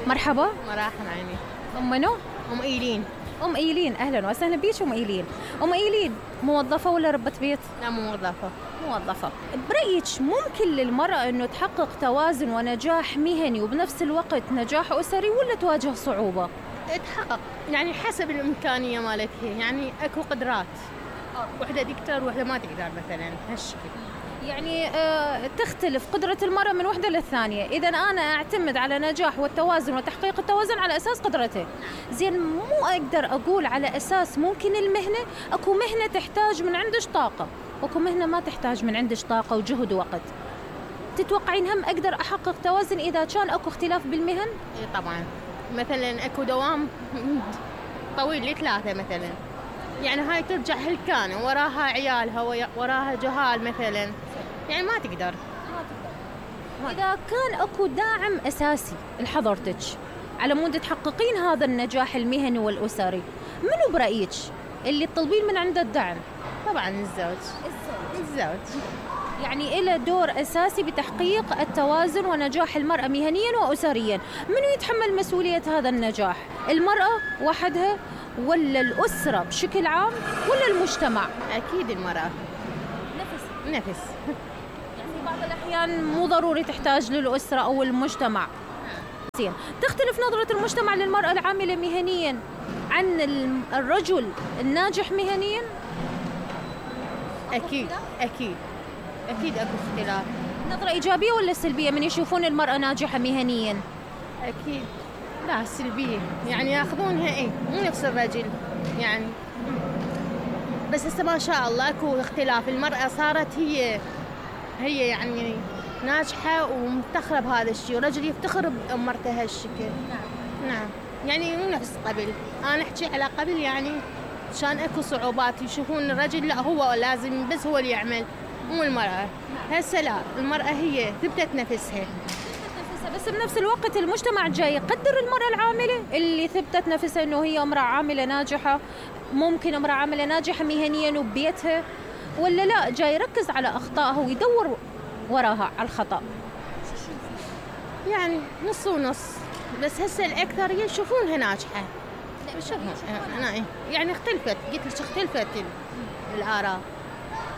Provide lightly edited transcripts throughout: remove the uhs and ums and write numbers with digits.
مرحبا. مراحل عيني. أم منو؟ أم إيلين. أم إيلين، أهلا وسهلا بيك أم إيلين. أم إيلين موظفة ولا ربة بيت؟ لا موظفة. موظفة. برأيك ممكن للمرأة أنه تحقق توازن ونجاح مهني وبنفس الوقت نجاح أسري ولا تواجه صعوبة؟ تحقق يعني حسب الإمكانية مالتها، يعني أكو قدرات، وحدة تقدر وحدة ما تقدر مثلا هالشكل. يعني تختلف قدرة المرأة من وحدة للثانية. إذا أنا أعتمد على نجاح والتوازن وتحقيق التوازن على أساس قدرته. زين، مو أقدر أقول على أساس ممكن المهنة، أكو مهنة تحتاج من عندش طاقة، أكو مهنة ما تحتاج من عندش طاقة وجهد ووقت. تتوقعين هم أقدر أحقق توازن إذا كان أكو اختلاف بالمهن؟ طبعا، مثلا أكو دوام طويل ل3 مثلا، يعني هاي ترجع هلكانة وراها عيالها وراها جهال مثلا، يعني ما تقدر. إذا كان أكو داعم أساسي لحضرتك على مود تحققين هذا النجاح المهني والأسري، منو برأيك اللي تطلبين من عنده الدعم؟ طبعا الزوج يعني إله دور أساسي بتحقيق التوازن ونجاح المرأة مهنيا وأسريا. منو يتحمل مسؤولية هذا النجاح؟ المرأة وحدها ولا الأسرة بشكل عام ولا المجتمع؟ أكيد المرأة. نفس يعني بعض الأحيان مو ضروري تحتاج للأسرة أو المجتمع. زين، تختلف نظرة المجتمع للمرأة العاملة مهنيا عن الرجل الناجح مهنيا؟ أكيد أكو اختلاف. نظرة إيجابية ولا سلبية من يشوفون المرأة ناجحة مهنيا؟ أكيد لا سلبية، يعني ياخذونها مو نفس الرجل يعني. بس هسه ما شاء الله اكو اختلاف، المرأة صارت هي يعني ناجحة ومفتخرة بهذا الشيء، والرجل يفتخر بأمرته هالشكل. نعم يعني مو نفس قبل. أنا أحكي على قبل، يعني كان اكو صعوبات، يشوفون الرجل لا هو لازم بس هو اللي يعمل مو المرأة. هسه لا، المرأة هي ثبتت نفسها. بس بنفس الوقت المجتمع جاي يقدر المرأة العاملة اللي ثبتت نفسها انه هي امرأة عاملة ناجحة. ممكن امرأة عاملة ناجحة مهنيا وببيتها، ولا لا جاي يركز على اخطائها ويدور وراها على الخطأ؟ يعني نص ونص، بس هسه الاكثر يشوفونها ناجحة. يعني اختلفت، قلت لك اختلفت الآراء.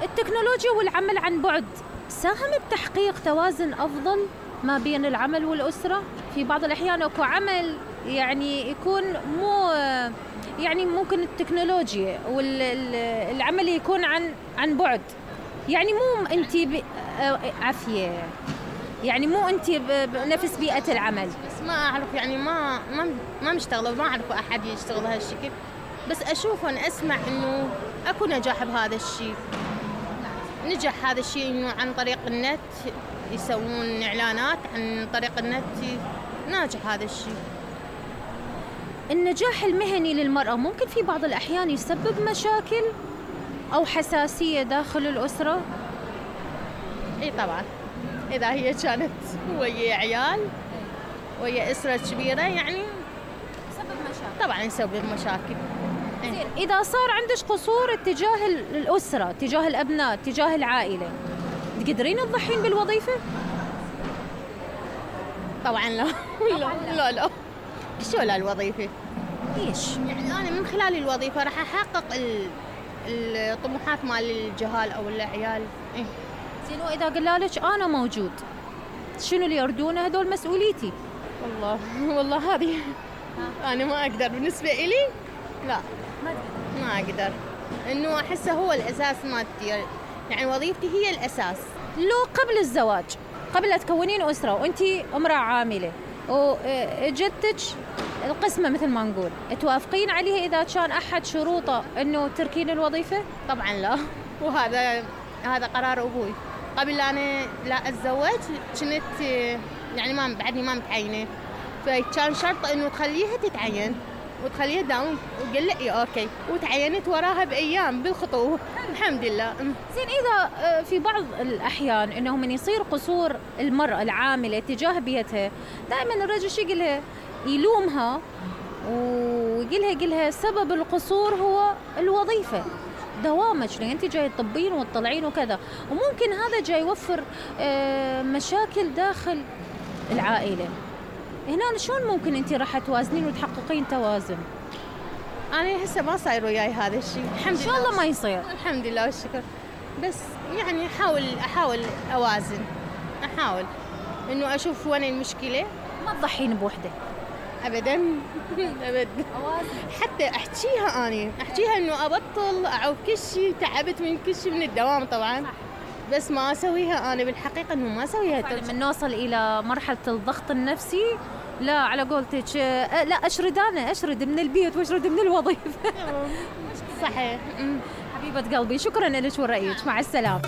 التكنولوجيا والعمل عن بعد ساهم بتحقيق توازن أفضل ما بين العمل والأسرة؟ في بعض الأحيان أكو عمل يعني يكون مو، يعني ممكن التكنولوجيا والعمل يكون عن بعد، يعني مو أنتي عافية، يعني مو أنتي بنفس بيئة العمل. بس ما أعرف، يعني ما مشتغلة، ما أعرف أحد يشتغل هالشكل، بس أشوف وأنا أسمع إنه أكو نجاح بهذا الشيء. نجح هذا الشيء إنه عن طريق النت يسوون إعلانات، عن طريق النت ناجح هذا الشيء. النجاح المهني للمرأة ممكن في بعض الأحيان يسبب مشاكل أو حساسية داخل الأسرة؟ إيه طبعا، إذا هي كانت ويا عيال ويا أسرة كبيرة يعني يسبب مشاكل. طبعا يسبب مشاكل. زين، إذا صار عندك قصور اتجاه الأسرة، اتجاه الأبناء، اتجاه العائلة، تقدرين تضحين بالوظيفة؟ طبعا لا. لا شو لا الوظيفة؟ ليش؟ يعني أنا من خلال الوظيفة راح أحقق الطموحات مال الجهال أو العيال. زين، وإذا قلالك أنا موجود، شنو اللي يردونه؟ هدول مسؤوليتي. والله هذه أنا ما أقدر، بالنسبة إلي لا ما أقدر، إنه أحسه هو الأساس مالتي، يعني وظيفتي هي الأساس. لو قبل الزواج، قبل لا تكونين أسرة وأنتي امرأة عاملة وجدتك القسمة مثل ما نقول، توافقين عليها إذا كان أحد شروطه إنه تركين الوظيفة؟ طبعا لا، وهذا قرار أبوي. قبل أنا لا أتزوج كنت يعني بعدني ما متعينة، فكان شرط إنه تخليها تتعين وتخليها داوم، وقال لي أوكي، وتعينت وراها بأيام بالخطوة الحمد لله. زين، إذا في بعض الأحيان إنه من يصير قصور المرأة العاملة تجاه بيتها، دائما الرجل شو يقولها؟ يلومها ويقولها سبب القصور هو الوظيفة، دوامك لأن أنت جاي تطبين وتطلعين وكذا، وممكن هذا جاي يوفر مشاكل داخل العائلة. هنا شلون ممكن انت راح توازنين وتحققين توازن؟ انا هسه ما صاير وياي هذا الشيء، الحمد لله. ان شاء الله ما يصير. الحمد لله والشكر. بس يعني احاول اوازن، احاول انه اشوف وين المشكله. ما تضحين بوحده ابدا ابدا. حتى احكيها انه ابطل اعوف كل شيء، تعبت من كل شيء، من الدوام طبعا. بس ما اسويها انا بالحقيقه، انه ما اسويها. من نوصل الى مرحله الضغط النفسي، لا على قولتك لا اشرد من البيت واشرد من الوظيفه. صحيح. حبيبه قلبي، شكرا لك ورأيك، مع السلامه.